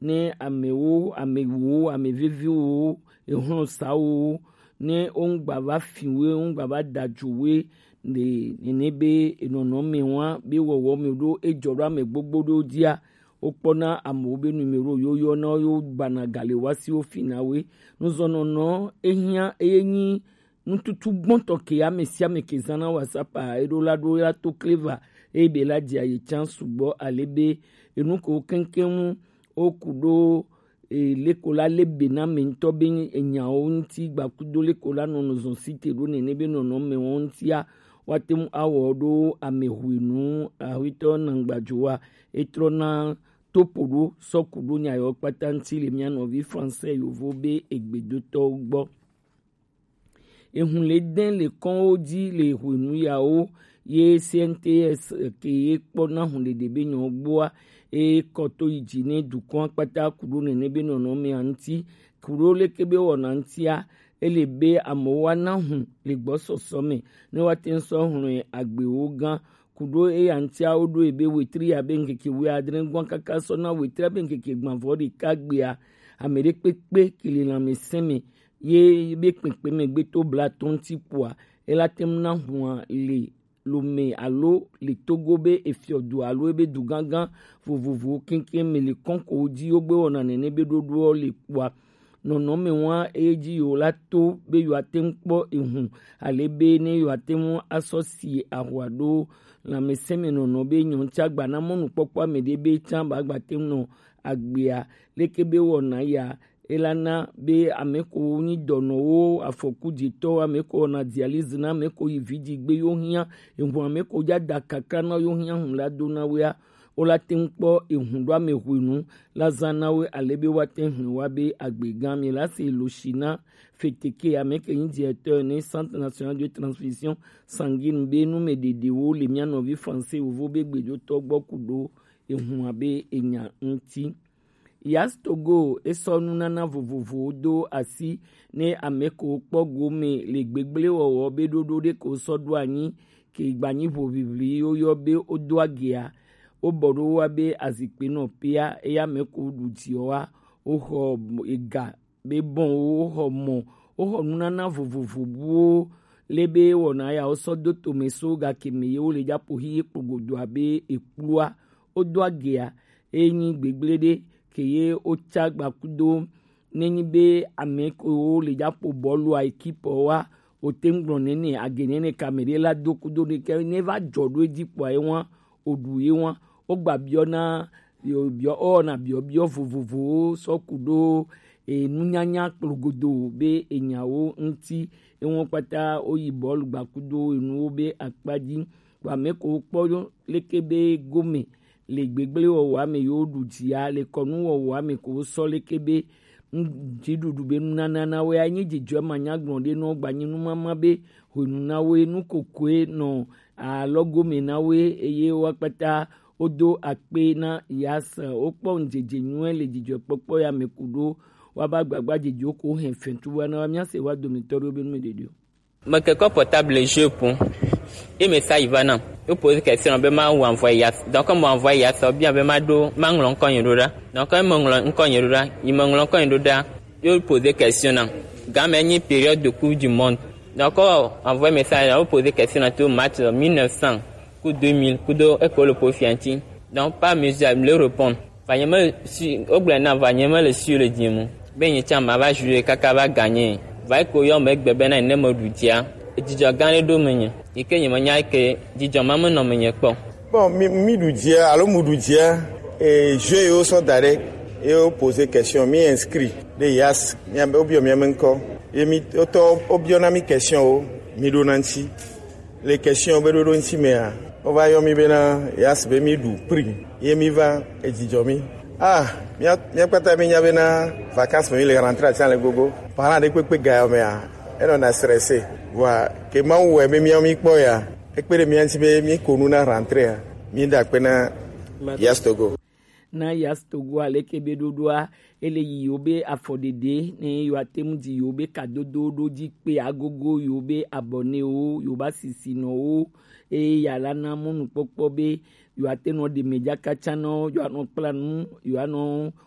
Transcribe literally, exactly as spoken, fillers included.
ne amewo, amewo, ameveviwo, ehlɔnsawo, ne wongba va fi we, wongba va da jo we, ne nene be enɔnɔ me wa be wɔwɔ me ɖo ejɔ ɖo ame gbogbo ɖo dia, wokpɔna amewo be numero yo yɔ na wo, yo gbana gale wa si wo fi na we. Nuzɔnɔnɔ ehia eye nyi nututu gbɔntɔ ke ame sia ame ke zana WhatsApp a, eɖo la ɖo la to kleva eye be la dia ye can sugbɔ ale be enu ko keŋkeŋ woku ɖo e, leko la le be na ame ŋutɔ be enyawo ŋuti gbakudo leko la nɔ nɔzɔn site ɖo nene be nɔnɔmewo ŋutia, woate ŋu awɔ ɖo ame hwenu ahwitɔ nangbajoa etrɔna topo ɖo sɔku ɖo nya yawo kpata ŋuti le mía nɔvi français yovo be egbedotɔwo gbɔ. Ehun le dɛn le kɔnwo ji le hwenu yawo ye C N T S ke ye kpɔ na hun ɖeɖe be nyɔ gbɔa, e kɔ to yi ji ne dukɔn kpata kuɖo nene be nɔnɔme a ŋuti, kuɖo leke be wɔna ŋutia, ele be amewo wa na hun le gbɔsɔsɔ me ne woate ŋu sɔ hlɔe agbewo gã kuɖo eya ŋutia woɖo ebe wetri abe ŋkeke wuiadre gbɔn kaka sɔ na wetri abe ŋkeke gbãvɔ ɖeka gbea, ame ɖe kpekpe ke le lãmesẽ me ye be kpekpe me gbe to blatɔ ŋuti kpoa, ela te ŋu na hua le lome alo le Togo be efiɔdu alo ebe du gãgã vovovowo keŋkeŋ me le kɔnkowo ji wogbe wɔna nene be ɖoɖoɔ le kpoa, nɔnɔme wa eye ji yewo la to be yewoate ŋu kpɔ ehun ale be ne yewoate ŋu asɔ si ahua ɖo lãmesẽmenɔnɔ be nyɔnu tsã gba na mɔnukpɔkpɔ ame ɖe be tsã ba gba te ŋu nɔ agbea leke be wɔna ya, elana be ame ko nyi dɔnɔwo afɔku dzetɔwo ame ko wɔna dialyse na ame ko yi vidzi gbe yo hiã ehun ame ko dza da kakra na yo hiã hun la do na wea, wo la te ŋu kpɔ ehun ɖo ame hwenu la zã na wo ale be woate ŋu hlẽ wa be agbegã mi la se lo shi na feteke ame ke nyi directeur ne Centre National de Transfusion Sanguine be nu me ɖeɖewo le mía nɔvi français wovo be gbedotɔ gbɔ ku ɖo ehun abe enya ŋuti. Yas Togo esɔ nunana vovovowo do asi ne ame ko kpɔ gome le gbegblẽwɔwɔ be ɖoɖo ɖe ko sɔ ɖo anyi ke gbanyi ʋoʋiʋli woyɔ be wodo agea, wobɔ ɖo wa be azikpe nɔ pea eya me ko ɖu dziɔ wa, woxɔ ega be bɔn wo, woxɔ mɔ, woxɔ nunana vovovo buwo le be wɔna ya wosɔ do tome so gake me ye wo le dzapo hi ye kplogodo abe ekplua, wodo agea, eye nyi gbegblẽ ɖe ke ye wotsa gbakudo nenyi be ame kewo le dzapo bɔlua ekipe wa, wote ŋu gblɔ nene age nene ka me ɖe la do kudo ɖe ke ne va dzɔ ɖo edzi kpɔa ye wa, woɖu ye wa, wogba biɔ na biɔ biɔ wowɔna biɔ biɔ vovovowo sɔ ku ɖo enunyanya kplogodo be enyawo ŋuti, ewo kpata woyi bɔlu gbakudo enuwo be akpa dzi. Vɔ ame ko wokpɔ leke be gome le gbegblẽwɔwɔa me yewo ɖu dzia, le kɔnuwɔwɔa me ko wosɔ leke be ŋ-, dziɖuɖu be nunana na woe anyi dzidzɔ manyagblɔ ɖe nɔ gbanyi numama be hwenu na woe nu kokoe nɔ alɔgome na woe eye woa kpata wodo akpe na Yas, wokpɔ ŋdzedze nyuie le dzidzɔkpɔkpɔ ya me ku ɖo woaba gbagba dzedzewo ko hɛn fɛntu wa na wa míase wa dometɔ ɖewo be nu me ɖeɖe o. Mekekɔ portable jeu ƒom. Ye message va nam. Ye poser question be ma envoyer Yas. Donc, comme ma envoyer Yas, ou bien be ma ɖo, ma ŋlɔ ŋkɔ nye ɖo ɖa. Donc, comme me ŋlɔ ŋkɔ nye ɖo ɖa, yi me ŋlɔ ŋkɔ nye ɖo ɖa, ye poser question nam. Game nyi période de Coupe du Monde. Donc, envoyer message, ye poser question nam to match mille neuf cents ku deux mille, ku do eko le po fianti. Donc, par mesure, me le répondre. Va nye me si, wogblɔe na va nye me le si le dzi mu. Be nye tsã ma va jouer kaka va gagner. Va yi ko yɔ me gbe bena ne me ɖu dzia. Dzidzɔ gã ɖe ɖo menye. Yi ke nye menya ke dzidzɔ ma menɔ menye kpɔ. Bon, mi, mi ɖu dzia, alo mu ɖu dzia, e, jeu yewo sɔ da ɖe, ye wo poser question, mi inscrit ɖe Yas, mia be, wobiɔ mia me ŋkɔ. Ye mi, wotɔ, wobiɔ na mi question wo, mi ɖo na ŋuti. Le question be ɖoɖo ŋuti mea, wova yɔ mi bena Yas be mi ɖu prix ye mi va edzidzɔ mi. Ah, mía, mía kpata mi nya bena vacances me mi le rentrée atia le gogo. Parent ɖe kpekpe ga yɔ mea, enɔ na stressé. Vɔa, ke Mawu wɛ be mía mi kpɔ ya, ekpe ɖe mía ŋuti be mi ko nu na rentrée ya, mi da akpe na Yas Togo. Na Yas Togo aleke be ɖoɖoa, ele yi yewo be afɔɖeɖe, ne yewoate ŋu dzi yewo be kadodo ɖo dzi kpe agogo yewo be abɔnewo, yewo be asisinɔwo, eye yeala na mɔnukpɔkpɔ be yewoate nɔ ɖe mɛ dzaka tsã nɔ, yewoanɔ kpla nu, yewoanɔ